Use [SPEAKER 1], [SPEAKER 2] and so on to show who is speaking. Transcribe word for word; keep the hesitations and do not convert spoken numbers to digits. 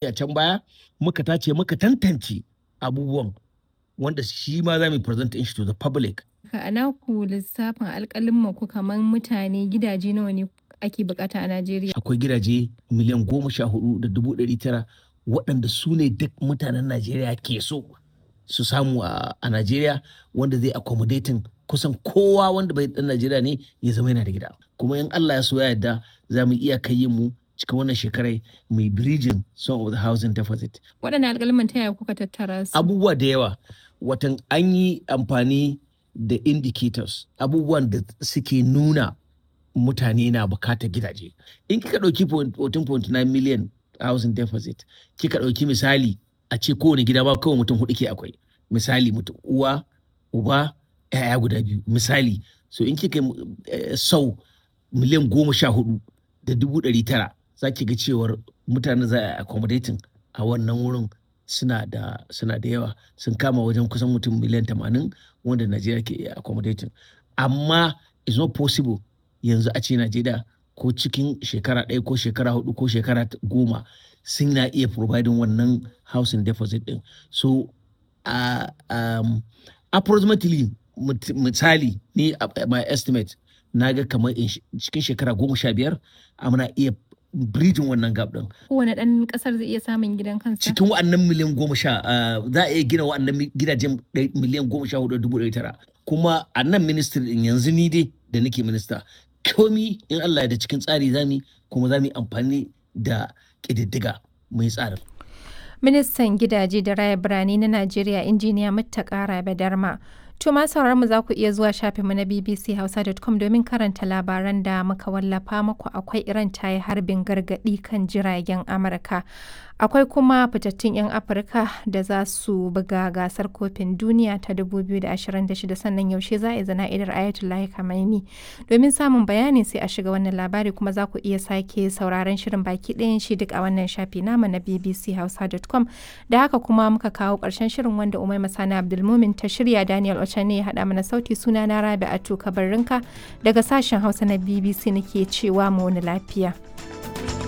[SPEAKER 1] A can baya muka tace, muka tantance abubuwan wanda shi ma za mu present shi to the public.
[SPEAKER 2] A naku lissafin alƙalumman ku, kamar mutane gidaje nawa ne ake bukata a Najeriya?
[SPEAKER 1] Akwai gidaje miliyan goma sha hudu da dubu ɗari tara waɗanda su ne duk mutanen Najeriya ke so su samu a Najeriya, wanda zai accommodating kusan kowa wanda bai ɗan Najeriya ne ya zama yana da gida. Kuma in Allah ya so ya yarda, za mu iya kai mu cikin wannan shekarai mai bridging some of the housing deficit.
[SPEAKER 2] Waɗannan alƙaluman ta yaya kuka tattara su?
[SPEAKER 1] Abubuwa da yawa, watan an yi amfani da indicators, abubuwan da suke nuna mutane na bukatar gidaje. In kika ɗauki fourteen point nine million housing deficit, kika ɗauki misali a ce kowane gida ba kawai mutum hudu ke akwai. Misali, mutum uwa, uba, 'ya'ya guda biyu. Misali, so in kika sau miliyan goma sha hudu da dubu ɗari tara, za ki ga cewar mutane za a accommodating a wannan wurin suna da suna da yawa, sun kama wajen kusan mutum miliyan tamanin wanda Najeriya ke iya accommodating. Amma it's not possible yanzu a ce Najeriya ko cikin shekara ɗaya ko shekara hudu ko shekara goma sun na iya providing wannan housing deficit ɗin. So uh, um, approximately, misali ni my estimate, na ga kamar cikin shekara goma sha biyar muna iya bridging wannan gap din.
[SPEAKER 2] Kowane ɗan ƙasar zai iya samun gidan kansa?
[SPEAKER 1] Cikin wa'annan miliyan goma sha za a iya gina wa'annan gidajen miliyan goma sha hudu dubu ɗari tara. Kuma a nan ministry din yanzu, ni dai da nake minista, komi in Allah da cikin tsari zami, kuma za mu yi amfani da ƙididdiga mai tsarin.
[SPEAKER 2] Ministan gidaje da raya birane na Najeriya, Injiniya Muttaka Rabe Darma. To ma sauraron mu, za ku iya zuwa shafinmu na B B C Hausa dot com domin karanta labaran da muka wallafa muku. Akwai Iran ta yi harbin gargaɗi kan jiragen Amurka. Akwai kuma fitattun 'yan Afirka da za su buga gasar kofin duniya ta dubu biyu da ashirin da shida, sannan yaushe za a yi zana'idar Ayatollah Khamenei. Domin samun bayani sai a shiga wannan labari, kuma za ku iya sake sauraron shirin baki ɗayan shi duk a wannan shafi namu na B B C Hausa dot com. Da haka kuma muka kawo ƙarshen shirin wanda Umaima Sani Abdulmumin ta shirya, Daniel Ochane ya haɗa mana sauti. Suna na Rabi'atu Kabarrinka daga sashen Hausa na B B C nake cewa mu wani lafiya.